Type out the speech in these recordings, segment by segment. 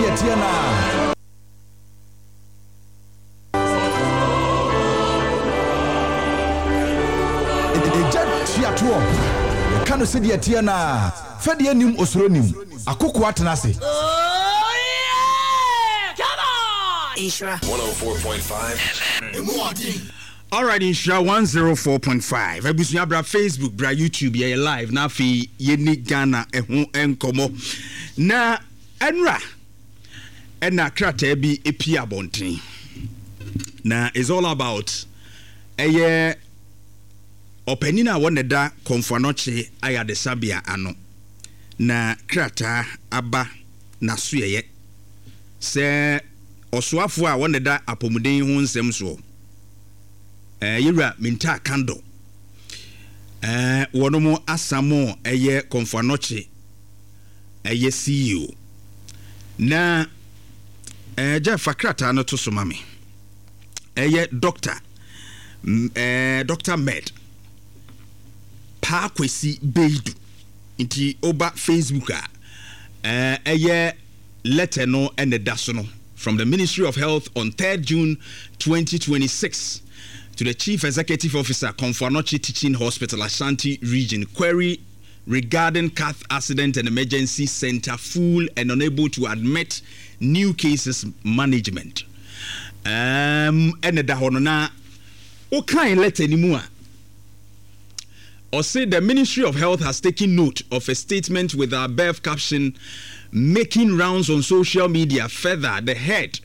sɛdeɛ ɛteɛ no ara. Egya tua toɔ. Yɛka no sɛdeɛ ɛteɛ no ara. Fɛdeɛ nnim osuro nnim. Akokoa tena ase. Oh yeah! Come on! Nhyira. 104.5 FM. Alright Nhyira 104.5 abusua bra Facebook bra YouTube yɛyɛ live na afei yɛni Ghana ɛho nkɔmmɔ na ɛnora ɛna krataa bi epie abɔnten na it's all about ɛyɛ ɔpanin a wɔn na ɛda Komfo Anokye ayadesabea ano na krataa aba n'asoɛyɛ sɛ ɔsoafoɔ a wɔn na ɛda apɔmuden ho nsɛm soɔ ɛɛ yɛwura Mintaa Kando ɛɛ wɔn asamo ɛyɛ Komfo Anokye ɛyɛ CEO. Na ɛɛ Jeff fa krataa no to so ma me. Ɛyɛ Doctor ɛɛ Doctor Med Paa Kwesi Beidu. Nti woba Facebook a ɛɛ ɛyɛ letter no ɛna ɛda so no from the Ministry of Health on 3rd June 2026 to the Chief Executive Officer, Komfo Anokye Teaching Hospital, Ashanti Region, query regarding cath accident and emergency center full and unable to admit new cases management. Um, ɛna da hɔ no na wokan letter no mu a ɔse the Ministry of Health has taken note of a statement with our birth caption making rounds on social media. Further, the head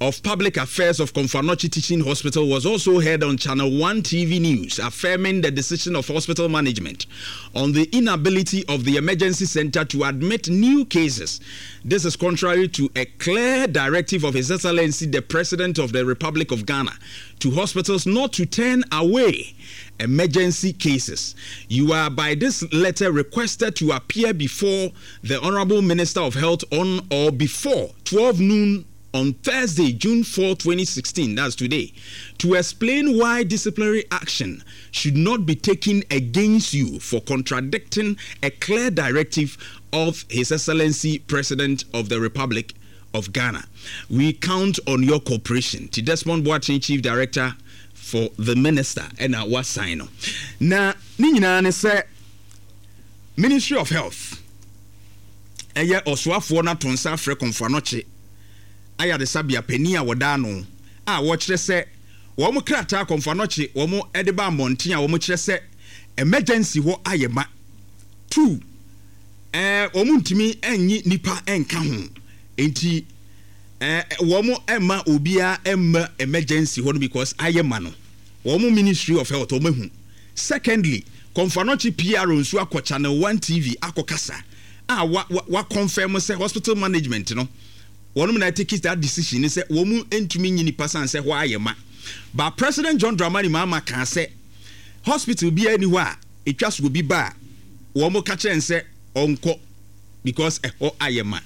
of Public Affairs of Komfo Anokye Teaching Hospital was also heard on Channel 1 TV News, affirming the decision of hospital management on the inability of the emergency center to admit new cases. This is contrary to a clear directive of His Excellency the President of the Republic of Ghana to hospitals not to turn away emergency cases. You are by this letter requested to appear before the Honorable Minister of Health on or before 12 noon on Thursday, June 4, 2016, that's today, to explain why disciplinary action should not be taken against you for contradicting a clear directive of His Excellency President of the Republic of Ghana. We count on your cooperation. Ti Desmond Boateng, Chief Director for the Minister, ɛna wasign no. Na ne nyinaa ne sɛ Ministry of Health ɛyɛ ɔsoafoɔ no ato nsa afrɛ Komfo Anokye ayaresabea panin a wɔda ano a wɔkyerɛ sɛ wɔn krataa Komfo Anokye wɔn de ba mmɔnten a wɔkyerɛ sɛ emergency hɔ ayɛ ma two ɛɛ wɔn ntumi nnye nipa nka ho nti ɛɛ wɔn mma obiara mma emergency hɔ no because ayɛ ma no wɔn Ministry of Health wɔn ahu. Secondly, Komfo Anokye PRO nso akɔ Channel One TV akɔ kasa a wa wa wa confirm sɛ hospital management no wɔnom na take that decision ne sɛ wɔn ntumi nyi nipa san sɛ hɔ ayɛ ma. But President John Dramani Mahama kaa sɛ hospital biara ni hɔ a etwa so obi ba a wɔn ka kyerɛ no sɛ ɔnkɔ because ɛhɔ ayɛ ma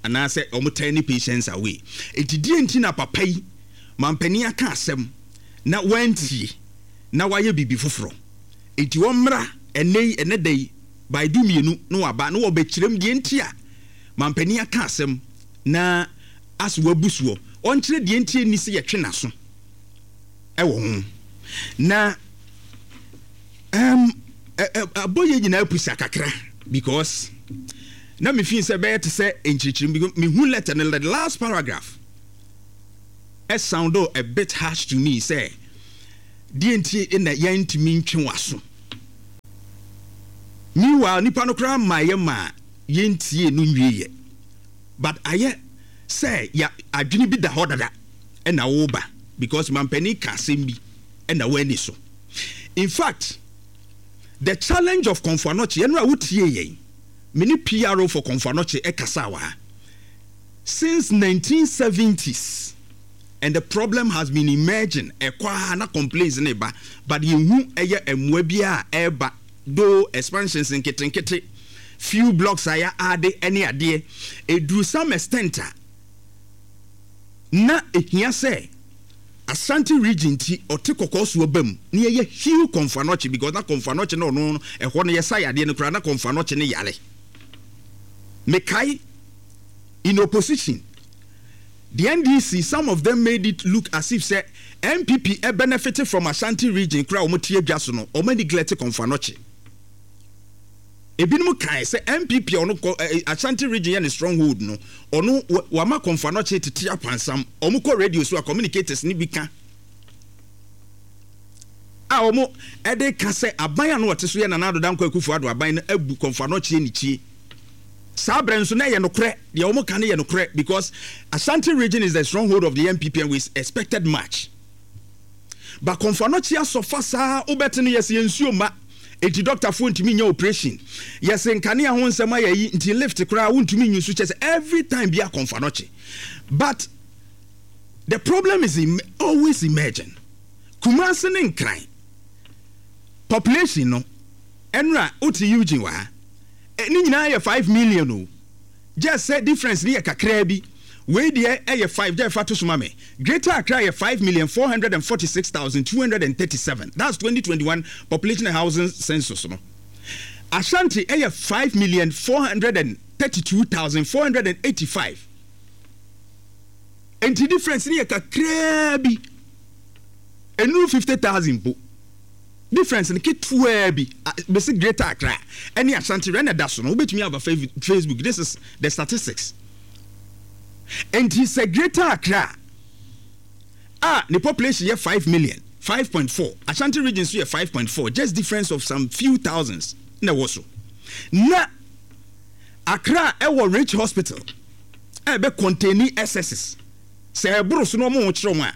anaasɛ wɔn turn patients away. Enti deɛ nti na papa yi mampanin aka asɛm na wantie? na wayɛ biribi foforɔ. Enti wɔmmra ɛnnɛ yi, ɛnnɛ da yi, by dumienu na wɔaba na wɔbɛkyerɛ mu deɛ nti a mampanin aka asɛm na as wabu soɔ. Ɔnkyerɛ deɛ nti ɛnni sɛ yɛtwe n'aso wɔ ho. Na um, abɔ yɛ nyinaa pusa kakra because na me feel sɛ bɛyɛ te sɛ nkyerɛkyerɛ mu mehu letter no the last paragraph sound a bit harsh to me sɛ deɛ nti na yɛntumi ntwe w'aso. Meanwhile nipa no koraa mmaeɛ maa yɛntie no nwieɛ but ayɛ sɛ ya adwene bi da hɔ dada ɛna woba because mampanin ka asɛm bi ɛna woani so. In fact the challenge of Komfo Anokye ɛno a wotie yɛn me ne PRO for Komfo Anokye ɛkasa wɔ ha since 1970s and the problem has been emerging ɛkɔ ara na complaints no reba but yɛnhu ɛyɛ mmoa biara a ɛreba though expansions nketenkete few blocks a yɛ ade ɛne adeɛ ɛduru some extent a na ɛhia sɛ Ashanti region nti ɔte kɔkɔɔ so aba mu na yɛyɛ heal Komfo Anokye because na Komfo Anokye na ɔno ɛhɔ no yɛsa yadeɛ no koraa na Komfo Anokye ne yare mekae. In opposition, the NDC, some of them made it look as if sɛ NPP benefit from Ashanti region koraa a wɔn te adwa so no, wɔn neglect Komfo Anokye. Ebinom kae sɛ NPP a ɔno kɔ eh, Ashanti region yɛ ne stronghold no, ɔno wama Komfo Anokye tete akwansam. Wɔn kɔ radio so a communicators no bi ka a wɔn de ka sɛ aban a na ɔte so yɛ Nana Addo Dankwa Akufo-Addo aban no abu Komfo Anokye anikyie. Saa berɛ nso na ɛyɛ nokorɛ, deɛ wɔn ka no yɛ nokorɛ because Ashanti region is the stronghold of the NPP and we expected much. But Komfo Anokye asɔfa saa wobɛte no yɛse yɛ nsuo mma enti dɔktafoɔ ntumi nyɛ operation, yɛse nkanea ho nsɛm ayɛ yi nti lift koraa wontumi nyi so kyɛ sɛ every time bia Komfo Anokye. But the problem is always emerging. Kumasi ne Nkran population no ɛnora wote Eugene wɔ ha ne nyinaa yɛ 5 million o just sɛ difference no yɛ kakraa bi wei deɛ ɛyɛ 5 gya fa to so ma me Greater Accra yɛ 5,446,237 that's 2021 population and housing census no Ashanti ɛyɛ 5,432,485 nti difference no yɛ kakraa bi ɛnuru 50,000 mpo difference no ketewaa bi bɛsi Greater Accra ɛne Ashanti rɛ na ɛda so no wobɛtumi aba Facebook this is the statistics nti sɛ Greater Accra a ne population yɛ 5 million 5.4 Ashanti region so yɛ 5.4 just difference of some few thousands na ɛwɔ so na Accra ɛwɔ Ridge Hospital a ɛbɛ contain excesses sɛ ɛboro so na wɔn ho kyerɛ wɔn a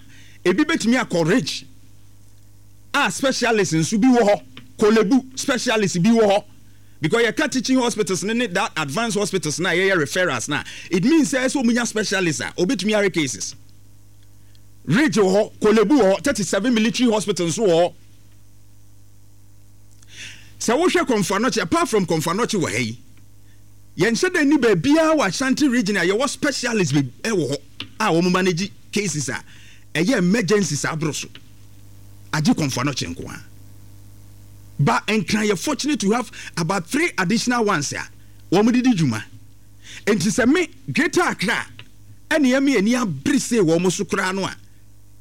ebi bɛtumi akɔ Ridge a specialist nso bi wɔ hɔ, Korle-Bu specialist bi wɔ hɔ because yɛka teaching hospitals no ne that advanced hospitals no a yɛyɛ referrals no a, it means sɛ ɛsɛ wɔn nya specialist a obetumi ayɛ cases. Ridge wɔ hɔ, Korle-Bu wɔ hɔ, 37 military hospital nso wɔ hɔ. Sɛ wohwɛ Komfo Anokye, apart from Komfo Anokye wɔ ha yi, yɛnhyɛ da nni baabiara wɔ Ashanti region a yɛwɔ specialist bi wɔ hɔ a wɔn manage cases a ɛyɛ emergency saa boro so agye Komfo Anokye nko ara. Ba Nkran yɛ fortunate to have about three additional ones a wɔn de di dwuma. Nti sɛ me Greater Accra ɛna ɛmi ani abere sei wɔn so koraa no a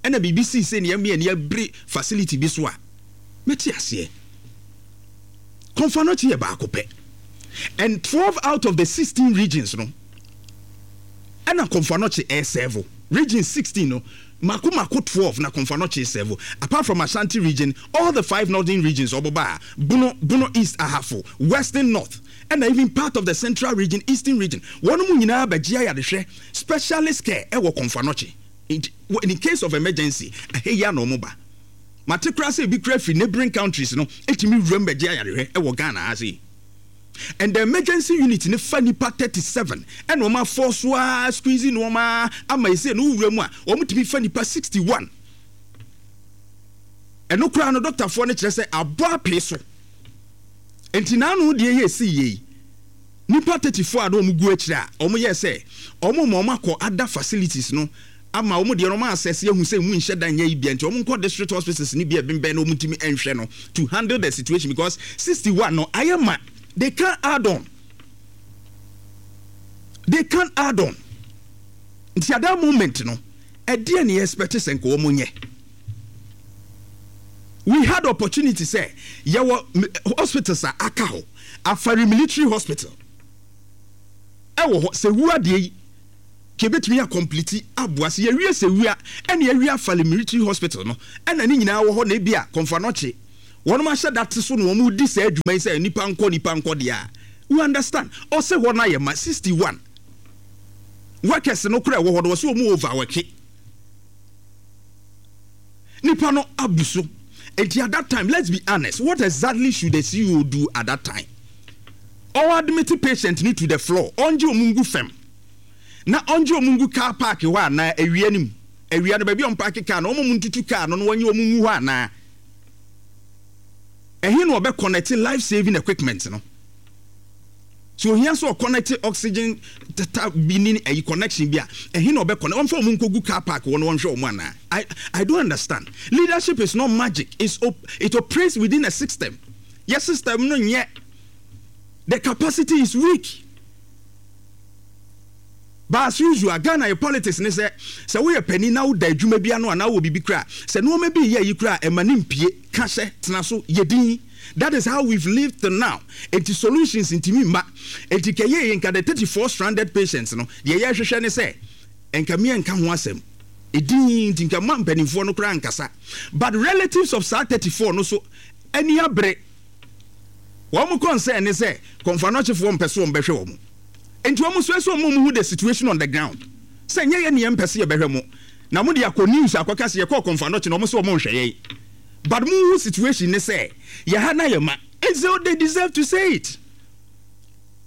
ɛna biribi sii sei na ɛmi ani abere facility bi so a mɛte aseɛ. Komfo Anokye yɛ baako pɛ and 12 out of the 16 regions no ɛna Komfo Anokye ɛresɛvo. Region 16 no mako mako 12 na Komfo Anokye resɛvo. Apart from Ashanti region, all the five northern regions ɔboba a, Bono, Bono East, Ahafo, Western North ɛna even part of the Central region, Eastern region, wɔn mu nyinaa bɛgye ayarehwɛ, specialist care ɛwɔ Komfo Anokye. Nti in case of emergency, ɛha yi ara na wɔn ba. Mate koraa sɛ ebi koraa firi neighbouring countries no tumi wuram bɛgye ayarehwɛ wɔ Ghana ha sei. And the emergency unit no fa nipa 37 ɛna wɔn afɔ so ara squeeze nneɛma ara ama ɛsei no wowura mu a wɔn tumi fa nipa 61. Ɛno koraa no dɔktafoɔ no kyerɛ sɛ abɔ apee so. Nti n'ano deɛ yɛ esi yie yi nipa 34 a na wɔn gu akyire a wɔn yɛ sɛ wɔn ma wɔn akɔ other facilities no ama wɔn deɛ no wɔn asɛse ahu sɛ emu nhyɛ da nyɛ yi bia nti wɔn nkɔ district hospitals no bi a ɛbɛnbɛn na wɔn ntumi nhwɛ no to handle the situation because 61 no ayɛ ma they can't add on they can't add on nti at that moment no ɛdeɛ ne expect sɛ nka wɔn nyɛ we had opportunity sɛ yɛwɔ hospitals a aka hɔ Afari military hospital ɛwɔ hɔ sɛ wu adeɛ yi Ka yɛbɛtumi a complete aboa sɛ yɛwie sɛwia ɛna yɛawie afale military hospital no ɛna ne nyinaa wɔ hɔ na ebia Komfo Anokye wɔnom ahyɛ da te so na wɔn redi saa adwuma yi sɛ nipa nkɔ nipa nkɔ deɛ a you understand ɔse hɔ no ayɛ ma 61 workers no koraa ɛwɔ hɔ no wɔse wɔn overworke nipa no abu so nti at that time let's be honest what exactly should the CEO do at that time ɔn admit patient no to the floor ɔngye wɔn ngu fam na ɔngye wɔn ngu car park hɔ anaa awia no mu awia no baabi a wɔn park car no wɔn mo ntutu car no na wɔnye wɔn ngu hɔ anaa ɛhe na ɔbɛ connect life saving equipment no so ohia sɛ ɔconnect oxygen tata bi ne ayi connection bi a ɛhe na ɔbɛ connect wɔmfa wɔn nkɔgu car park hɔ na wɔnhwɛ wɔn anaa I I don't understand leadership is not magic it's op it operates within a system yɛ system no nyɛ the capacity is weak. But as usual, Ghana yɛ politics ne sɛ, sɛ woyɛ panin na woda adwuma bi ano anaa wowɔ biribi koraa a, sɛ nnoɔma bi reyɛ ayi koraa a, ɛma no mpue. Ka hyɛ, tena so, yɛ din. That is how we've lived till now. Enti solutions ntumi mma. Enti nka ɛyɛ yie nka the 34 stranded patients no, deɛ yɛrehwehwɛ ne sɛ, nka me nka ho asɛm. Edin nti nka mma mpanimfoɔ no koraa nkasa. But relatives of saa 34 no so ani abere. Wɔn concern ne sɛ Kɔmfoanɔkyefoɔ mpɛ sɛ wɔbɛhwɛ wɔn. Enti wɔn nso ɛsɛ wɔn hu the situation on the ground sɛ nyɛ yɛn na yɛn mpɛ sɛ yɛbɛhwɛ mo na mo de akɔ news akɔka sɛ yɛkɔɔ Komfo Anokye na wɔn sɛ wɔn nhwɛ yɛn but mo hu situation ne sɛ yɛ ha na yɛ ma and so they deserve to say it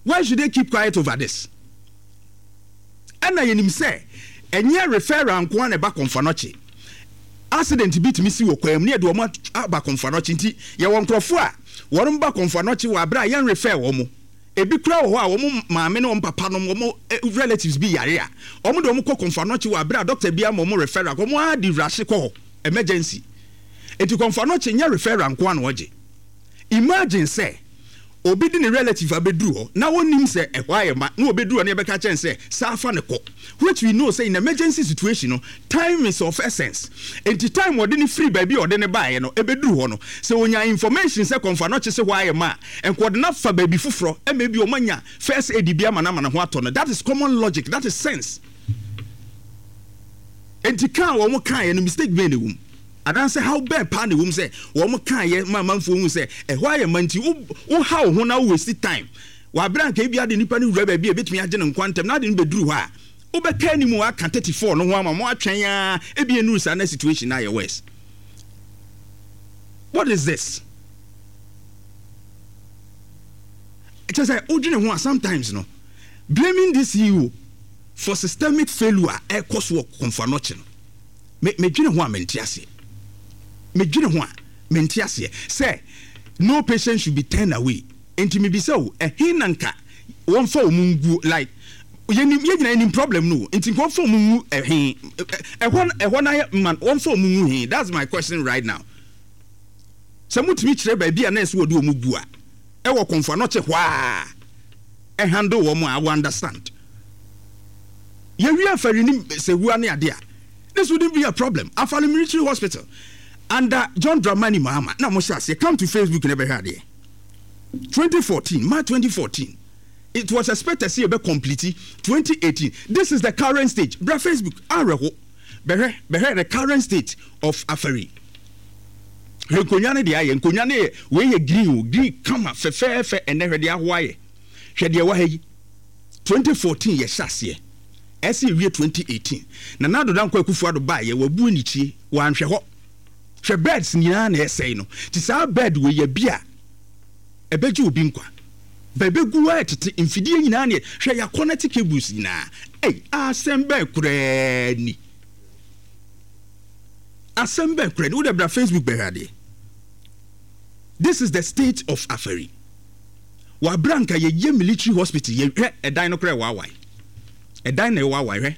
why should they keep quiet over this ɛna yɛnim sɛ ɛnyɛ referral nko ara na ɛba Komfo Anokye accident bi tumi si wɔ kwan mu ne yɛde wɔn aba Komfo Anokye nti yɛwɔ nkurɔfoɔ a wɔn ba Komfo Anokye wɔ abere a yɛn refer wɔn Ebi koraa wɔ hɔ a wɔn maame ne wɔn papa nom, wɔn relatives bi yare a, wɔn de wɔn kɔ Komfo Anokye wɔ abere a doctor bi ama wɔn referral, wɔn ara de rush kɔ hɔ, emergency. Enti Komfo Anokye nyɛ referral nko ara na wɔgye. Imagine sɛ obi de ne relative abɛduru hɔ na ɔnnim sɛ ɛhɔ ayɛ ma na ɔbɛduru hɔ na yɛbɛka akyerɛ no sɛ saa fa no kɔ, which we know sɛ in emergency situation no, time is of essence. Enti time ɔde no firi baabi a ɔde no baeɛ no bɛduru hɔ no, sɛ ɔnya information sɛ Komfo Anokye se hɔ ayɛ ma a, nka ɔde no afa baabi foforɔ ma ebi wɔn anya first aid bi ama no ama ne ho atɔ no. That is common logic, that is sense. Enti ka a wɔn kaeɛ no mistake bɛn na ɛwɔ mu? Anaasɛ haw bɛn paa na ɛwɔ mu sɛ wɔn kaeɛ ma amanfoɔ hu sɛ ɛhɔ ayɛ ma nti wo woha wo ho na wo waste time wɔ abere a nka ebi ade nipa no wura baabi a ebetumi agye ne nkwa ntɛm na ade no bɛduru hɔ a wobɛka anim aka 34 no ho ama mo atwɛn ara ebi nnuru saa na situation no ayɛ worse. What is this? Kyerɛ sɛ wodwene ho a sometimes no blaming this CEO for systemic failure a ɛkɔ so wɔ Komfo Anokye no me medwene ho a mente aseɛ. Medwene ho a mente aseɛ sɛ no patient should be turned away. Nti mebisa o ɛhe na nka wɔmfa wɔn nguo like yɛnim yɛn nyinaa yɛnim problem no o nti nka wɔmfa wɔn ngu ɛhe ɛhɔ ɛhɔ na yɛ man wɔmfa wɔn ngu he that's my question right now. Sɛ motumi kyerɛ baabi a na ɛsɛ wɔde wɔn gu a, ɛwɔ Komfo Anokye hɔ a, ɛhandle wɔn a, I will understand. Yɛwie Afari ne Sewua ne adeɛ a, this wouldn't be a problem. Afari Military Hospital under John Dramani Mahama na wɔhyɛ aseɛ. Come to Facebook na bɛhwɛ adeɛ. 2014, March 2014, it was expected sɛ yɛbɛ complete 2018. This is the current stage. Bra Facebook, awerɛho. Bɛhwɛ, bɛhwɛ the current state of Afari. Hwɛ nkonnwa no deɛ ayɛ. Nkonnwa no yɛ, wei yɛ green o, green kama fɛfɛɛfɛ. Ɛnɛ hwɛ deɛ ahoa ayɛ. Hwɛ deɛ ɛwɔ ha yi. 2014 yɛhyɛ aseɛ. Ɛsɛ yɛwie 2018. Nana Addo Dankwa Akufo Addo baeɛ, wabu anikyie, wanhwɛ hɔ. Hwɛ beds nyinaa na ɛsɛe no. Nti saa bed wei yɛ bi a ɛbɛgye obi nkwa. Bɛbɛgu hɔ ɛtete mfidie nyinaa neɛ hwɛ yɛakɔnɛte cables nyinaa. Ei, asɛm bɛn koraa ni. Asɛm bɛn koraa ni? Wo deɛ bra Facebook bɛhwɛ adeɛ. This is the state of Afari. Wɔ abere a nka yɛyɛ military hospital yɛ hwɛ ɛdan no koraa ɛwaawae. Ɛdan na ɛwaawae hwɛ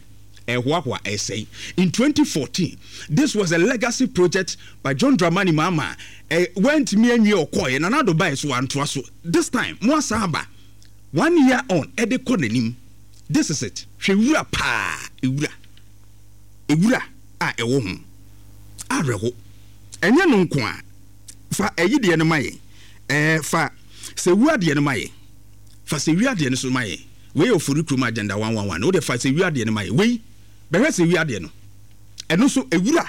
ɛhoahoa ɛsɛe. In 2014, this was a legacy project by John Dramani Mahama ɛ wantumi anwie ɔkɔɔeɛ Nana Addo baeɛ so wantoa so. This time mo asan aba one year on ɛde kɔ n'anim. This is it. Hwɛ wura paa ewura. Ewura a ɛwɔ ho. Awerɛho. Ɛnyɛ no nko ara. Fa ɛyi deɛ no ma yɛn. Ɛɛ, fa sɛwua deɛ no ma yɛn. Fa sɛwia deɛ no so ma yɛn. Wei yɛ Ofori kurom agenda 111. Wo deɛ fa sɛwia deɛ no ma yɛn. Wei, bɛhwɛ sɛwia deɛ no. Ɛno nso, ewura,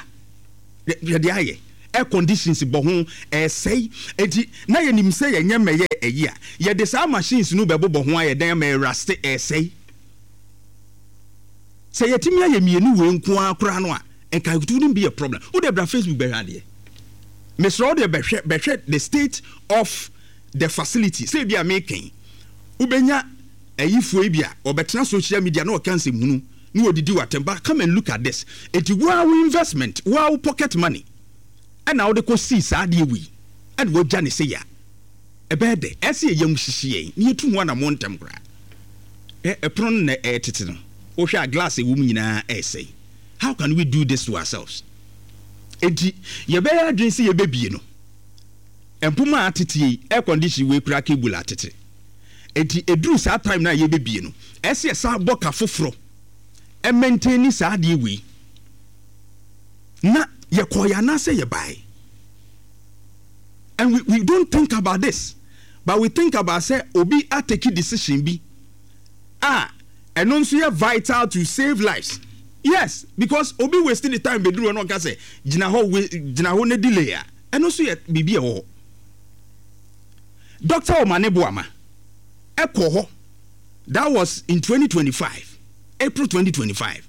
hwɛ deɛ ayɛ. Air conditions bɔ ho, ɛresɛe. Enti, na yɛnim sɛ yɛnyɛ mmɛyɛ ɛyi a, yɛde saa machines no bɛbobɔ ho ayɛ dɛn ama ɛraste, ɛresɛe. Sɛ yɛtumi ayɛ mienu wei nko ara koraa no a, nka it wouldn't be a problem. Wo deɛ bra Facebook bɛhwɛ adeɛ. Mesrɛ wo deɛ bɛhwɛ, bɛhwɛ the state of the facility. Sɛ ebi a meka yi, wobɛnya ayifoɔ yi bi a wɔbɛtena social media na wɔka nsɛmhunu na wɔdidi w'atɛm, but come and look at this. Enti wo ara wo investment, wo ara wo pocket money ɛna wode kɔ sii saa adeɛ wei ɛna wagya ne sei a, Ɛbɛyɛ dɛ. Ɛsɛ sɛ yɛn yam hyehye yɛn na yetu ho anammɔn ntɛm koraa. Hwɛ, ɛpono no na ɛretete no. Wohwɛ a, glass a ɛwɔ mu nyinaa resɛe. How can we do this to ourselves? Enti, yɛbɛyɛ adwene sɛ yɛbɛbue no. Mpoma a atete yi, air condition wei koraa cable atete. Enti, ɛduru saa time no a yɛbɛbue no, ɛsɛ sɛ yɛsan bɔ ka foforɔ. Ɛmaintaini saa adeɛ wei. Na yɛkɔeɛ anaasɛ yɛbaeɛ? And we, we don't think about this, but we think about sɛ obi atake decision bi a ɛno nso yɛ vital to save lives. Yes, because obi waste ne time bɛduru hɔ na ɔka sɛ gyina hɔ, we, gyina hɔ na delay a, ɛno nso yɛ biribi a ɛwɔ hɔ. Dr. Omane Boama ɛkɔ hɔ, that was in 2025, April 2025.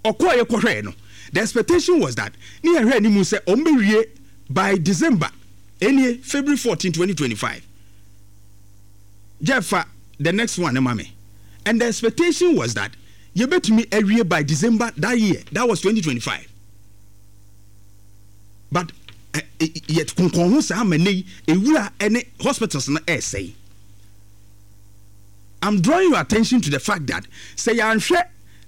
Ɔkɔeɛ kɔhwɛɛ no, the expectation was that ne yɛhwɛ anim sɛ wɔn bɛwie by December, ɛnie February 14, 2025. Jeff fa the next one no ma me. And the expectation was that yɛbɛtumi awie by December that year, that was 2025. But yɛ konkɔn ho saa ma nnɛ yi, ewura ne hospitals no ɛresɛe. I'm drawing your attention to the fact that sɛ yɛanhwɛ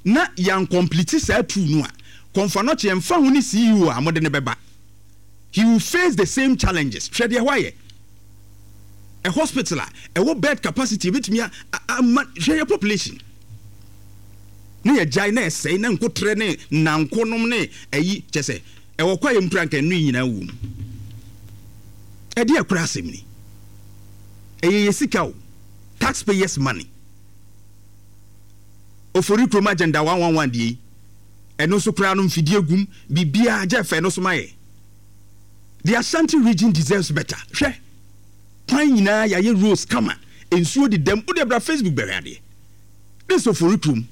na yɛancomplete saa tool no a, Komfo Anokye ɛmfa ho ne CEO a mode no bɛba, he will face the same challenges. Hwɛ deɛ ɛhɔ ayɛ. A hospital a ɛwɔ bed capacity ɛbɛtumi ama, hwɛ yɛ population. Ne yɛgyae na ɛsɛe na nkotrɛ ne nnanko nom ne ayi kyɛ sɛ ɛwɔ kwaeɛ mu koraa nka ɛno yi nyinaa wɔ mu. Ɛdeɛ koraa asɛm ni. Ɛyɛ yɛ sika o, tax payers money. Ofori kurom agenda 111 deɛ yi, ɛno nso koraa no mfidie gum, biribiara gye fɛ no so ma yɛ. The Ashanti region deserves better. Hwɛ, kwan nyinaa yɛayɛ roads kama, nsuo dedam, wodeɛ bra Facebook bɛhwɛ adeɛ. This Ofori kurom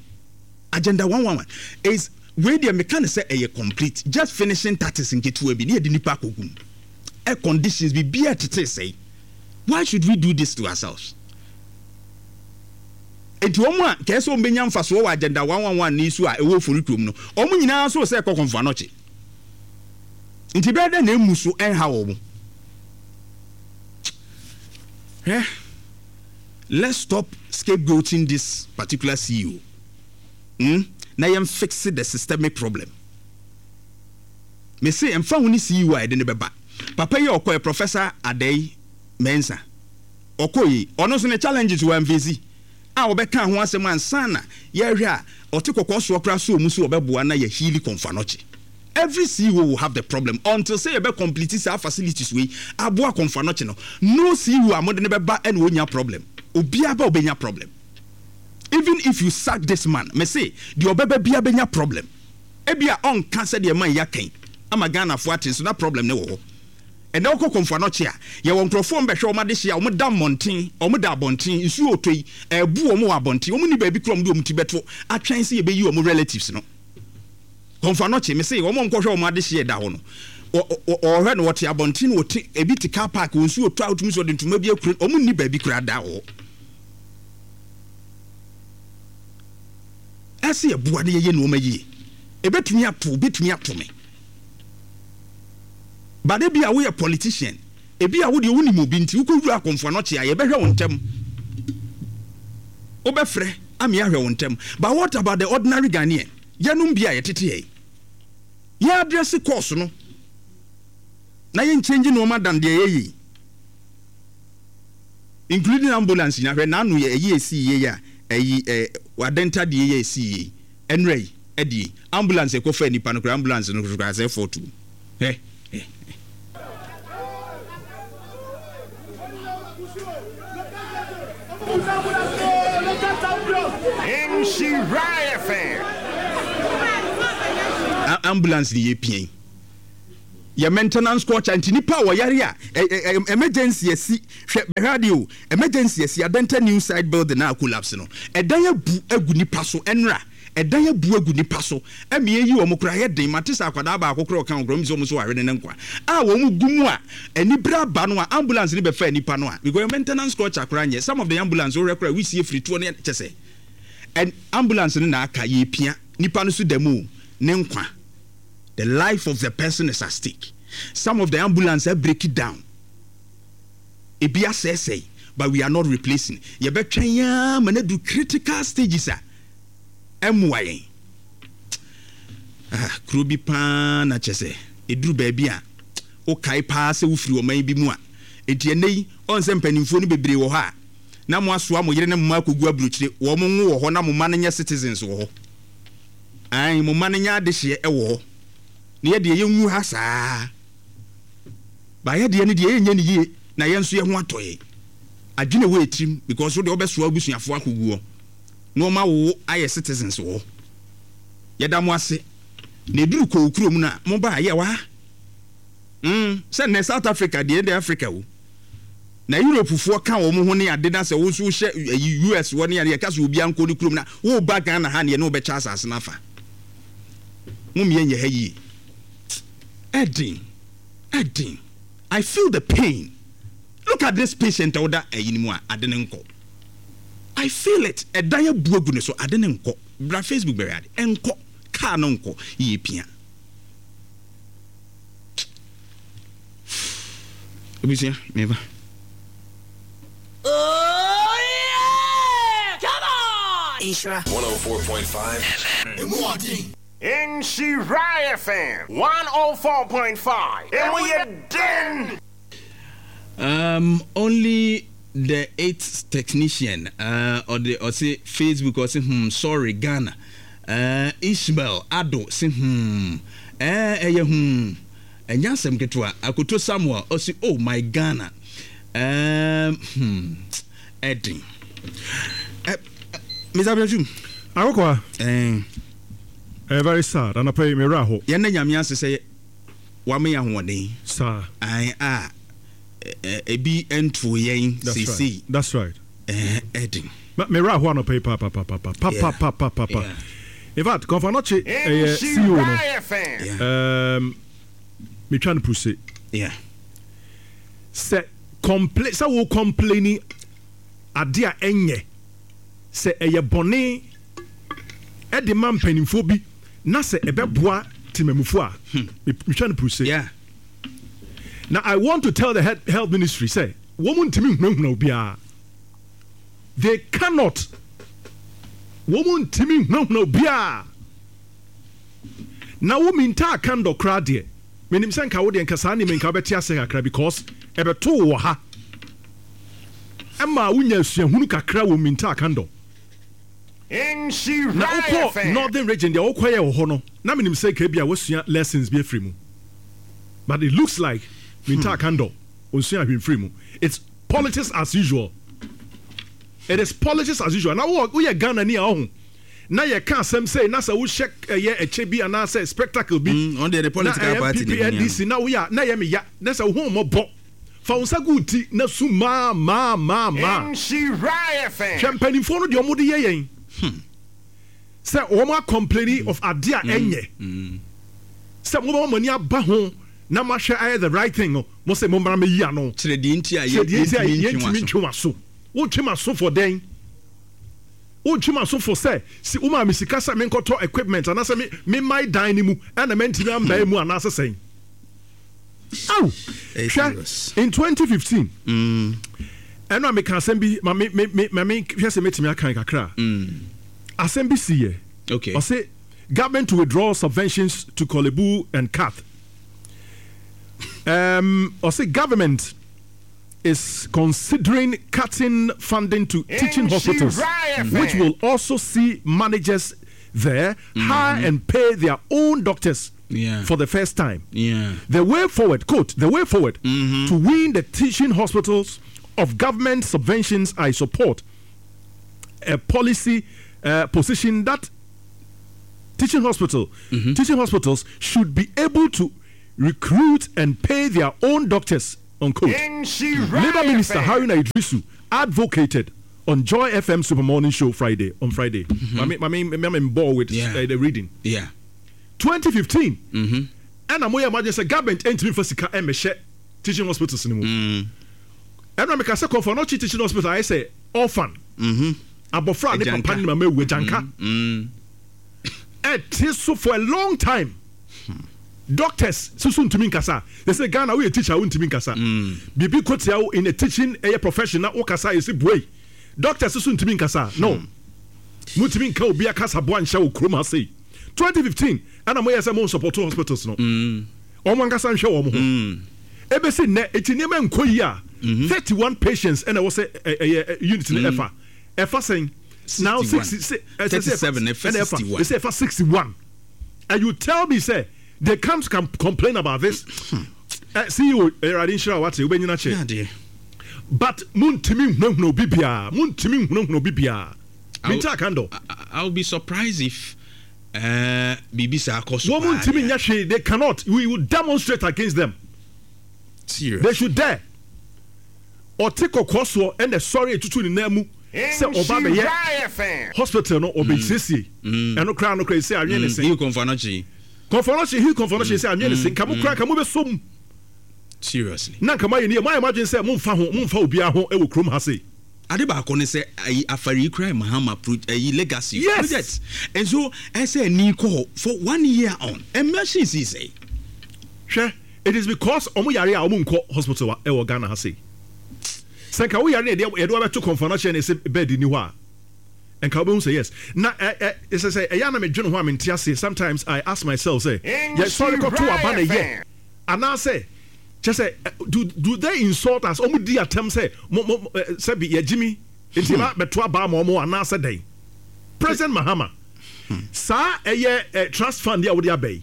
agenda 111 is wei deɛ meka no sɛ ɛyɛ complete, just finishing touches nketewa bi ne yɛde nipa akɔgu mu. Air conditions biribiara tetee sɛe. Why should we do this to ourselves? Enti wɔn a kɛɛ sɛ wɔn bɛnya mfasoɔ wɔ agenda 111 yi so a ɛwɔ Ofori kurom no, wɔn nyinaa nso sɛ ɛkɔ Komfo Anokye. Nti bɛyɛ dɛ na emu so ɛnha wɔn. Hwɛ, let's stop scapegoating this particular CEO. Hmm? Na yɛn fix the systemic problem. Mese ɛmfa ho ne CEO a yɛde no bɛba. Papa yi a ɔkɔɛ, Professor Adei Mensah, ɔkɔɛ yi, ɔno nso ne challenges wɔ amfeesi a ɔbɛkaa ho asɛm ansa na yɛrehwɛ a ɔte kɔkɔɔ soɔ koraa sɔɔ mu sɛ ɔbɛboa na yɛ heali Komfo Anokye. Every CEO will have the problem until sɛ yɛbɛ complete saa facilities wei aboa Komfo Anokye no. No CEO a mode no bɛba na ɔnnya problem. Obiara ba ɔbɛnya problem. Even if you sack this man, mese deɛ ɔbɛba biara bɛnya problem. Ebia ɔnka sɛdeɛ man yi aka yi ama Ghanafoɔ ate nso na problem no wɔ hɔ. Ɛnnɛ wokɔ Komfo Anokye a, yɛwɔ nkurɔfoɔ a wɔbɛhwɛ wɔn adehyeɛ a wɔda mmɔnten, wɔda abɔnten, nsuo retɔ yi, ɛrebu wɔn wɔ abɔnten, wɔn nni baabi koraa a wɔde wɔn ti bɛto atwɛn sɛ yɛbɛyi wɔn relatives no. Komfo Anokye, mese wɔn a wɔkɔhwɛ wɔn adehyeɛ da hɔ no, wɔhwɛ no wɔte abɔnten, wɔte, ebi te car park, wɔn nsuo retɔ a wotumi sɛ wɔde ntoma bi akura, wɔn nni baabi koraa da wɔ hɔ. Ɛsɛ yɛboa na yɛyɛ nnoɔma yie. Ɛbɛtumi ato wo, bɛtumi ato me. But ebia woyɛ politician, ebia wo deɛ wonim obi nti wokɔwura akɔmfo anɔkye a yɛbɛhwɛ wo ntɛm. Wobɛfrɛ ama yɛahwɛ wo ntɛm. But what about the ordinary Ghanaian? Yɛnom bi a yɛtete ha yi. Yɛn address course no na yɛn change nnoɔma than deɛ yɛyɛ yi. Including ambulance nyinaa hwɛ n'ano yɛ ɛyi esii yie a ɛyi ɛ adɛnta deɛ yɛ esii yie ɛnura yi ɛdeɛ yi ambulance ɛkɔ fɛ nipa no koraa ambulance no koraa sɛ fɔtu hɛ hɛ. Ambulance ni yɛ pia yi. Yɛ maintenance culture nti nipa a wɔyare a emergency asi hwɛ bɛhwɛ adeɛ o emergency asi Adenta new side building a collapse no ɛdan abu agu nipa so ɛnra ɛdan abu agu nipa so ɛmi eyi wɔn koraa yɛ den mate sɛ akwadaa baako koraa ɔka wɔn koraa wɔn sɛ wɔn so ahwɛ ne ne nkwa a wɔn gu mu a anibere aba no a ambulance ne bɛfa nipa no a because maintenance culture koraa nyɛ some of the ambulance wɔhwɛ koraa wisie firi toɔ ne kyɛ sɛ ambulance no na aka yɛ pia nipa no so da mu ne nkwa. The life of the person is at stake. Some of the ambulance a break it down. Ebi asɛesɛe but we are not replacing. Yɛbɛtwɛn ara ma no adu critical stages a ɛmmoa yɛn. Ah, kuro bi paa na kyɛ sɛ ɛduru baabi a wokae paa sɛ wofiri ɔman bi mu a. Enti ɛnnɛ yi, ɔn sɛ mpanimfoɔ no bebree wɔ hɔ a na mo asoa mo yere ne mo mma akɔgu aburokyire, wɔn nwo wɔ hɔ na mo mma no nyɛ citizens wɔ hɔ. Ae, mo mma no nyɛ adehyeɛ wɔ hɔ, na yɛ deɛ yɛnwu ha saa. Ba yɛ deɛ no deɛ yɛnyɛ no yie na yɛn nso yɛ ho atɔ yɛn. Adwene wɔ yɛ tirim because wo deɛ wobɛsoa w'abusuafoɔ akɔgu hɔ na wɔn awo wo ayɛ citizens wɔ hɔ. Yɛda mo ase. Na ɛduru kɔ wo kurom no a, mo ba a yɛwɔ ha. Mm, sɛ nnɛ South Africa deɛ ɛdɛ Africa o. Na Europe foɔ ka wɔn ho ne ade na sɛ wo nso wohyɛ ayi US wɔ ne ade yɛka sɛ obiara nkɔ ne kurom na woba Ghana ha ne yɛne wo bɛkyɛ asase no afa. Mo mmea nyɛ ha yie. Ɛden, ɛden. I feel the pain. Look at this patient a woda ayi no mu a ade no nkɔ. I feel it. Ɛdan abu agu ne so ade no nkɔ. Bra Facebook bɛhwɛ ade. Ɛnkɔ. Car no nkɔ. Yɛpia. Abusua, meba. Oh yeah! Come on! Nhyira 104.5 FM. Emu ɔden. Nhyira FM 104.5. Emu yɛ den. Um, only the eight technician uh, ɔde ɔse Facebook ɔse hmm sorry Ghana uh, Ishmael Ado se hmm eh ɛyɛ hmm ɛnyɛ asɛm ketewa Akoto Samuel ɔse oh my Ghana um, hmm ɛden eh, Mr. Abdul Akokoa eh. Eh, very sad anapa yi me werɛ aho. Yɛn na Nyame ase sɛ wama yɛn ahoɔden. Saa. Ae a ebi ntoo yɛn seesei. That's right. Ɛden. Me werɛ aho anɔpa yi paapapapa papapapapa. In fact, Kɔmfo Anɔkye ɛyɛ CEO no. Um, metwa no puse. Yeah. Sɛ complain sɛ wo complaini ade a ɛnyɛ sɛ ɛyɛ bɔne ɛde ma mpanimfoɔ bi na sɛ ɛbɛboa temamufo a, metwa no puruse. Yeah. Na I want to tell the health ministry sɛ wɔn ntumi nhunahuna obiara. They cannot. Wɔn ntumi nhunahuna obiara. Na wo mintaa kandɔ koraa deɛ, menim sɛ nka wo deɛ nka saa nneɛma nka wobɛte aseɛ kakra because ɛbɛtoo wɔ ha. Ɛma wonya asuahunu kakra wɔ mintaa kandɔ. Na wokɔ northern region deɛ wokɔyɛ wɔ hɔ no na menim sɛ nka ebia woasua lessons bi afiri mu but it looks like Mintaa Kandor onsua hwee mfiri mu. It's politics as usual. It is politics as usual. Na woyɛ Ghana ni a ɔho na yɛka asɛm sei na sɛ wohyɛ ɛyɛ ɛkyɛ bi anaasɛ spectacle bi mm, na ɛyɛ NPP NDC na woyɛ a na ɛyɛ me ya na sɛ wo ho mmɔbɔ. Fa wo nsa gu wo ti na su maa maa maa maa. Nhyira FM. Hwɛ mpanimfoɔ no deɛ wɔn de yɛ yɛn. Sɛ wɔn a complaini of adeɛ a ɛnyɛ. Sɛ mo bɛma mo ani aba ho na mo ahwɛ ayɛ the right thing no, mo se mo mmra mɛyi ano. Kyerɛ deɛ nti a Kyerɛ deɛ nti a yɛntumi yɛntumi ntwe w'aso. Wotwe m'aso for dɛn? Wotwe m'aso for sɛ si womaa me sika sɛ menkɔtɔ equipment anaasɛ me memmae dan no mu ɛna mantumi ambae mu anaasɛ sɛn? Ao! Hwɛ, in 2015, ɛno a meka asɛm bi, ma me, me, me, ma me hwɛ sɛ mɛtumi akan kakra. Asɛm bi si yɛ. Okay. Ɔse, government to withdraw subventions to Korle Bu and KATH. Um, ɔse, government is considering cutting funding to teaching hospitals, which will also see managers there hire and pay their own doctors. Yeah. For the first time. Yeah. The way forward, quote, the way forward mm-hmm. to win the teaching hospitals of government subventions, I support a policy uh, position that teaching hospital mm-hmm. teaching hospitals should be able to recruit and pay their own doctors unquote. Labour Minister Haruna Idrisu advocated on Joy FM Super Morning Show Friday on Friday. Mm-hmm. I mean, I'm bored with yeah. uh, the reading. Yeah. 2015 ɛna moyɛ mo adwene sɛ government ntumi nfa sika mmɛhyɛ teaching hospitals no mu. Ɛna meka sɛ Komfo Anokye Teaching Hospital ayɛ sɛ orphan. Abɔfra a ne papa ne mama awu agyanka. Ɛte so for a long time. Doctors soso ntumi nkasa. They say Ghana woyɛ teacher wontumi nkasa. Biribi kɔ tia wo in a teaching ɛyɛ profession na wokasa yɛsi buei. Doctors soso ntumi nkasa. No. Mutumi nka obi akasaboa nhyɛ wo kurom ha sei. 2015 ɛna moyɛ sɛ mo nsupporto hospitals no wɔn ankasa nhwɛ wɔn ho ɛbɛsi nnɛ eti nneɛma nkɔ yi a 31 patients ɛna ɛwɔ sɛ ɛyɛ unit no ɛfa ɛfa sɛn now 60 ɛsɛ sɛ ɛna ɛfa ɛsɛ ɛfa 61. And you tell me sɛ they can't come complain about this? Eh, CEO, Awurade nhyira wo wate, wobɛnyina kyɛ. But montumi nhunahuna obi biara, montumi nhunahuna obi biara. Minta Akandɔ. I will be surprised if eh, biribi saa kɔ so Wɔn paa ntumi deɛ. nyɛ hwee, they cannot. We will demonstrate against them. Serious. They should dare. Ɔte kɔkɔɔ soɔ ɛna ɛsɔre etutu ne nan mu sɛ ɔba bɛyɛ hospital no ɔbɛsiesie ɛno koraa no koraa ɛsɛ anwene ne se. Hill Kɔnfanɔkye. Kɔnfanɔkye Hill Kɔnfanɔkye sɛ anwene ne se nka mo koraa nka mo bɛ som. Seriously. Na nka mo ayɛ ne yɛ mo ayɛ mo adwene sɛ mo nfa ho mo nfa obiara ho ɛwɔ kurom ha sei. Ade baako ne sɛ ayi afari yi koraa yɛ Mahama pro ayi legacy Yes. project and so ɛsɛ ani kɔ hɔ for one year on ɛmɛ si sɛe. Hwɛ It is because ɔmo yare a ɔmo nkɔ hospital a ɛwɔ Ghana ha sei. Sɛ nka wo yare na yɛde yɛde wo abɛto Komfo Anokye na yɛsɛ bed nni hɔ a, nka wobɛhu sɛ yes. Na ɛ ɛ sɛ sɛ ɛyɛ a na medwene ho a mente aseɛ. Sometimes I ask myself sɛ yɛsɔre kɔto aba na ɛyɛ anaasɛ kyɛ sɛ do do they insult us? Ɔmo di atɛm sɛ mo mo sɛbi yɛgyimi nti yɛba bɛto aba ama ɔmo anaasɛ dɛn? President Mahama saa ɛyɛ trust fund yi a wode aba yi.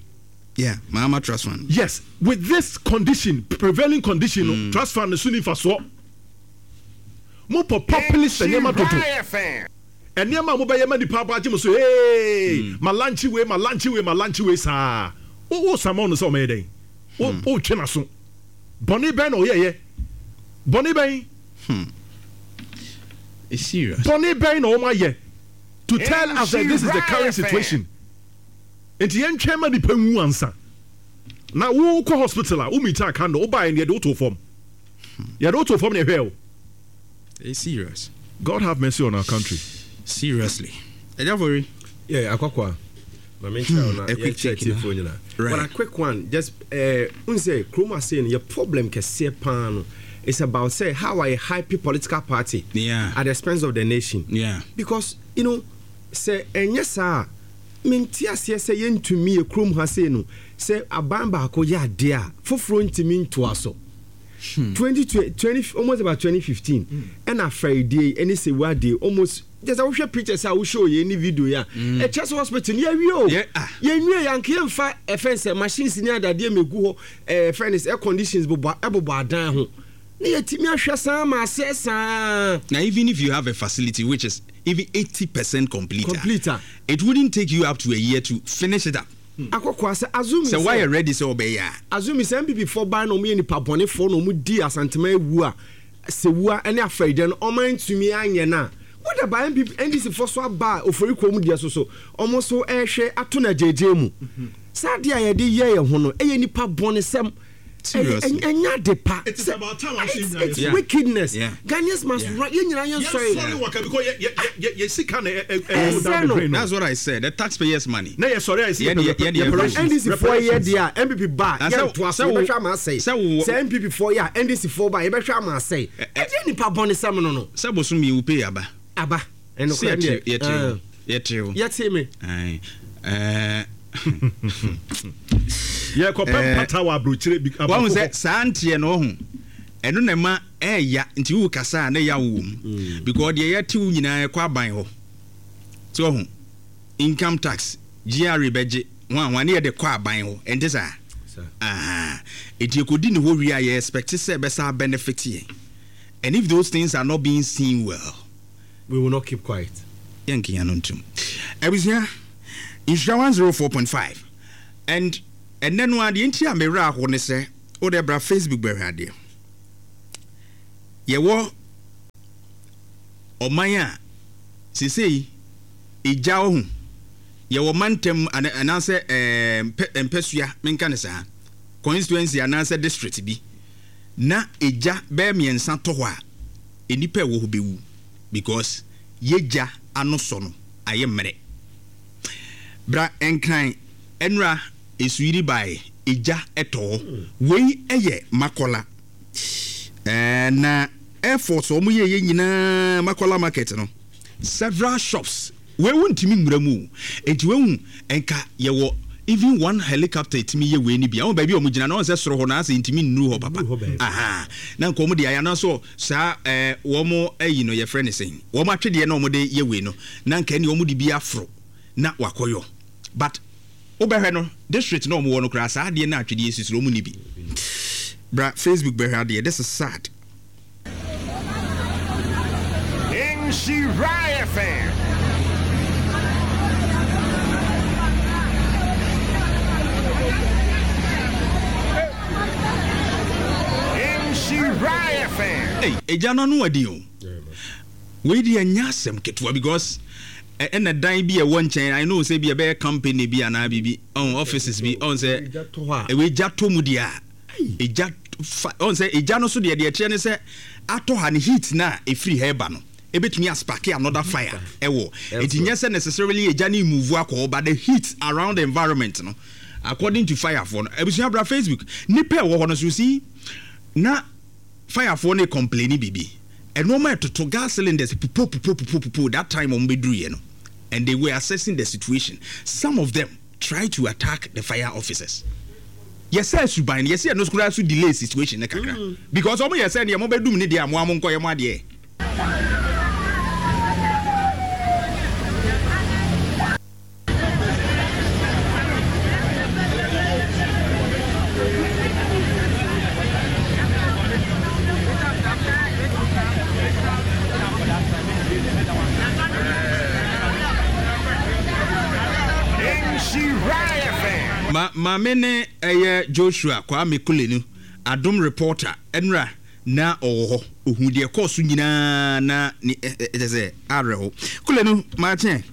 Yeah, Mahama Trust Fund. Yes, with this condition, prevailing condition no, mm. trust fund no so ni mfasoɔ. Mo pɔ populist nneɛma dodo. Nneɛma a mobɛyɛ ma nipa abɔ agye mo so, hey, mm. ma lanchi wei, ma lanchi wei, ma lanchi wei saa. Wo wo sama no sɛ ɔmɛyɛ dɛn? Wo hmm. wo twe n'aso. Bɔne bɛn na ɔyɛyɛ? Bɔne bɛn? Hmm. It's serious. Bɔne bɛn na wɔn ayɛ to tell us that this is the current situation? Nti yɛntwɛn ma nipa nwu ansa. Na wo kɔ hospital a wo meet a candle wo baeɛ no yɛde wo too fam. Yɛde wo too fam na yɛhwɛɛ wo. It's serious. God have mercy on our country. Seriously. Ɛgya fori. Yeah, akwakwa. Ma me nkyerɛ wo na yɛnkyerɛ tiefoɔ nyinaa. But a quick one, just eh, n sɛ kurom ase no yɛ problem kɛseɛ paa no. It's about say how I hype political party yeah. at the expense of the nation. Yeah. Because you know, sɛ ɛnyɛ saa a, Mente aseɛ sɛ yɛntumi yɛ kurom ha sei no sɛ aban baako yɛ adeɛ a foforɔ ntumi ntoa so. 20, 20, almost about 2015 ɛna afɛredie yi ɛne sewua deɛ almost kyɛ sɛ wohwɛ pictures a wo show yɛ ne video yi a ɛkyɛ sɛ hospital no yɛawie o yɛnwie yɛ anka yɛmfa ɛfɛn sɛ machines ne adadeɛ mɛgu hɔ ɛfɛn sɛ air conditions bobɔ ɛbobɔ adan ho na yɛtumi ahwɛ saa ma asɛ saa. Now even if you have a facility which is even 80% complete, complete a it wouldn't take you up to a year to finish it up. Akɔkɔa sɛ azumi sɛ wayɛ ready sɛ ɔbɛyɛ a. Azumi sɛ NPP foɔ ban na ɔmo yɛ nipa bɔne foɔ na ɔmo di Asanteman awu a sewua ɛne afɛridɛ no ɔmo antumi anyɛ no a what about NPP NDC foɔ so aba a ofori kurom deɛ so so ɔmo so ɛhwɛ ato no agyeegyee mu saa adeɛ a yɛde yɛ yɛn ho no ɛyɛ nipa bɔne sɛm. Seriously. Ɛnyɛ ade pa. It is about time I see It's yeah. wickedness. Yeah. Ghanaians must yeah. right. Yɛn nyinaa yɛn sɔre. Yɛn sɔre waka because yɛ yɛ yɛ yɛ sika na ɛ ɛ ɛ down the drain. That's what I said. The taxpayers money. Na yɛ sɔre a yɛ si yɛ yɛ yɛ NDC foɔ yɛ deɛ a NPP ba yɛ ntoa so yɛbɛhwɛ ama asɛe. Sɛ NPP foɔ yɛ a NDC foɔ ba yɛbɛhwɛ ama asɛe. Ɛdeɛ nipa bɔne sɛm no no. Sɛ bosom yi wo pay aba. Aba. Ɛnokorɛ deɛ. Yɛte yɛte wo. Yɛte me. Yɛkɔpɛ mpata wɔ aburokyire bi aborɔfo hɔ. Sɛ saa nteɛ no ɔho ɛno na ɛma ɛɛya nti wo kasa a na ɛya wo wɔ mu mm. because deɛ yɛte wo nyinaa ɛkɔ aban hɔ so ɔho income tax GRA bɛgye ho ahoa ne yɛde kɔ aban hɔ ɛnte saa aha eti ekodi ne hɔ wie a yɛ expect sɛ ɛbɛsa benefit yɛn and if those things are not being seen well. We will not keep quiet. Yɛnka yɛn ano ntom. Abusua, Nhyira 104.5 and ɛnɛ no adeɛ nti a me werɛ aho ne sɛ wo deɛ bra Facebook bɛhwɛ adeɛ. Yɛwɔ ɔman a sesei egya wɔ ho yɛwɔ mantam anaasɛ ɛɛ mpɛsua menka ne saa constituency anaasɛ district bi na egya bɛyɛ mmiɛnsa tɔ hɔ a nnipa a ɛwɔ hɔ bɛwu because yɛ gya ano sɔ no ayɛ mmerɛ. Bra Nkran ɛnora nsuyiri baeɛ egya tɔ hɔ. Wei yɛ Makola ɛɛ na airforce wɔn yɛɛyɛ nyinaa Makola market no several shops Wei wo ntumi nwura mu o. Enti wahu nka yɛwɔ even one helicopter etumi yɛ wei no bi a, wɔn baabi a wɔn gyina no wɔn sɛ soro hɔ no asɛ ntumi nnuru hɔ papa. Ahaa. Na nka wɔn de ayɛ anaasɛ saa ɛɛ wɔn ayi no yɛfrɛ no sɛn? Wɔn atwedeɛ na wɔn de yɛ wei no na nka ɛne wɔn de bi aforo na wakɔyɔ. But. Wobɛhwɛ no district na ɔmo wɔ no koraa saa adeɛ no a atwedeɛ si so no ɔmo nni bi. Bra Facebook bɛhwɛ adeɛ this is sad. Nhyira FM. Nhyira FM. Ei egya no ano ɔden o. Wei deɛ ɛnyɛ asɛm ketewa because ɛna dan bi a ɛwɔ nkyɛn I know sɛ bi ɛbɛyɛ company bi anaa biribi ɔn offices bi ɔn sɛ ɛwɔ egya tɔ mu deɛ a egya fa ɔn sɛ egya no so deɛ deɛ ɛkyerɛ ne sɛ atɔ ha ne heat na efiri ha ɛba no ebetumi aspark another fire ɛwɔ eti nyɛ sɛ necessarily egya ne move akɔ hɔ but the heat around the environment no according to fire foɔ no abusua bra Facebook nipa ɛwɔ hɔ no so si na. Fire foɔ no recomplaini biribi, nnoɔma ɛtoto, gas cylinders pupo pupo pupo pupo that time wɔn bɛduruiɛ no and they were assessing the situation, some of them tried to attack the fire officers. Yɛsɛɛ suban no, yɛse ɛno koraa so delay situation no kakra because wɔn yɛ sɛ neɛ mobɛdum ne deɛ a moa monkɔyɛ mo adeɛ. Ma maame ne ɛyɛ Joshua Kwame Kulenu, Adom reporter, ɛnora na ɔwɔ hɔ, ohuu deɛ ɛkɔɔ so nyinaa na ne ɛ ɛ kyɛ sɛ awerɛho. Kulenu, maakye.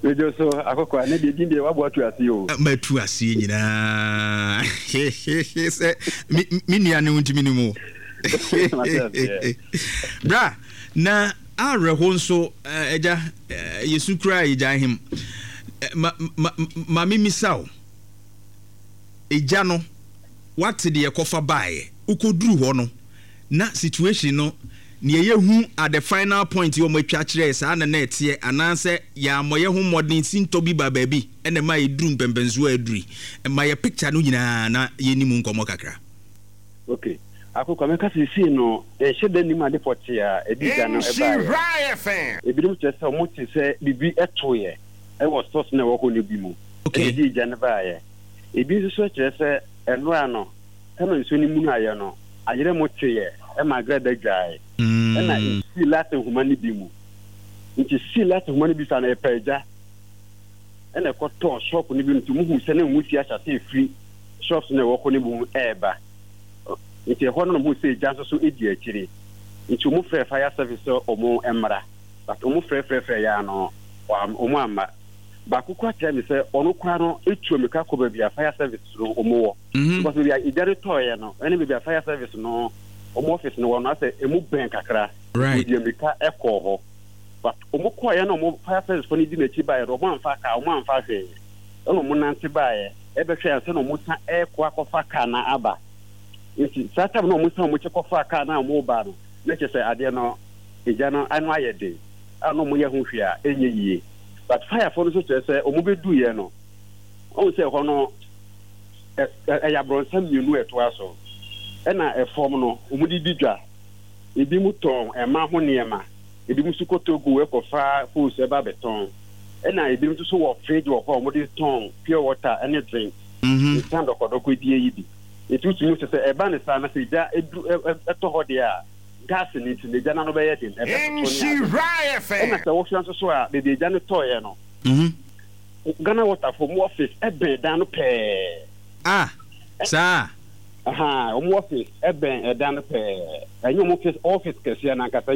Radio so akɔkɔ ne deɛ din deɛ wabɔ atu aseɛ o. Matu aseɛ nyinaa sɛ me nua ne wo ntumi ne mu. Bra na awerɛho nso agya yɛsu koraa yɛgya hem ma ma ma memisa o egya no Woate deɛ ɛkɔfa baeɛ. Wokɔduru hɔ no, na situation no, deɛ yɛhu at the final point yi wɔn atwa kyerɛɛ saa na na ɛteɛ anaasɛ yɛammɔ yɛn ho mmɔden sintɔ bi baa baabi na ɛma yɛduru mpɛmpɛnsoɔ a aduru yi. Ma yɛ picture no nyinaa na yɛnni mu nkɔmmɔ kakra. Ok. Akokwa, mɛka seesei no, yɛnhyɛ da nnim ade pɔtee a ɛde gya no baeɛ. Ebinom kyerɛ sɛ wɔte sɛ biribi toeɛ wɔ stores no a ɛwɔ hɔ no bi mu na ɛde gya no baeɛ. Ebi nso so kyerɛ sɛ ɛnora no, sɛnea nsuo no munuaeɛ no, ayerɛmo teeɛ ma agrada dwaeɛ, ɛnna ɛsii latin nhoma no bi mu. Nti sii latin nhoma no bi saa no, ɛpaa gya, ɛnna ɛkɔtɔɔ shop no bi mu. Nti wɔhuu sɛ na nwusie ahyɛ aseɛ refiri shops no a ɛwɔ hɔ no bi mu reba. Nti ɛhɔ no na wɔhuu sɛ gya nso so di akyire. Nti wɔfrɛɛ fire service sɛ wɔmmra, but wɔfrɛfrɛfrɛeɛ ara no, wɔamma. Baako koraa kyerɛ me sɛ ɔno koraa no etu amika kɔ baabi a fire service no wɔn wɔ. Because baabi a egya no tɔɔyɛ no ɛne baabi a fire service no wɔn office no wɔ no asɛ emu bɛn kakra. Right. Odi amika ɛkɔɔ hɔ. But wɔn kɔɔyɛ na wɔn fire service fo no di n'akyi baeɛ no wɔn amfa kaa wɔn amfa hwee. Ɛna wɔn nante baeɛ ɛbɛhwɛ ansa na wɔn san ɛɛkɔ akɔfa kaa no aba. Nti saa time na wɔn san wɔn akyi kɔfaa kaa no a wɔn ba no na kyerɛ sɛ adeɛ no egya no ano ayɛ den. a na wɔyɛ ho hwee a ɛnyɛ yie but fire foɔ no nso kyerɛ sɛ wɔn bɛduiɛ no wɔn sɛ ɛhɔ no ɛyɛ abrɔnsa mmienu a ɛtoa so ɛna ɛfam no wɔn de di dwa ebi mu tɔn ɛma ho nneɛma ebi mu nso kɔ Togo ɛkɔfa hose ɛba abɛtɔn ɛna ebi nso so wɔ fridge wɔ hɔ a wɔn de tɔn pure water ɛne drink nsa dɔkɔdɔkɔ die yi bi nti wotumi sɛ sɛ ɛba ne saa na sɛ gya edu ɛtɔ hɔ deɛ a Gas no nti, n'egya no ano bɛyɛ den, ɛbɛtoto ne ade. Ɛna sɛ wohwɛ nso so a, baabi egya no tɔeɛ no, Ghana Water foɔ wɔn office bɛn dan no pɛɛ. Ah, saa? Ahaa, wɔn office bɛn ɛdan no pɛɛ. Ɛnyɛ wɔn office, office kɛseɛ no ankasa.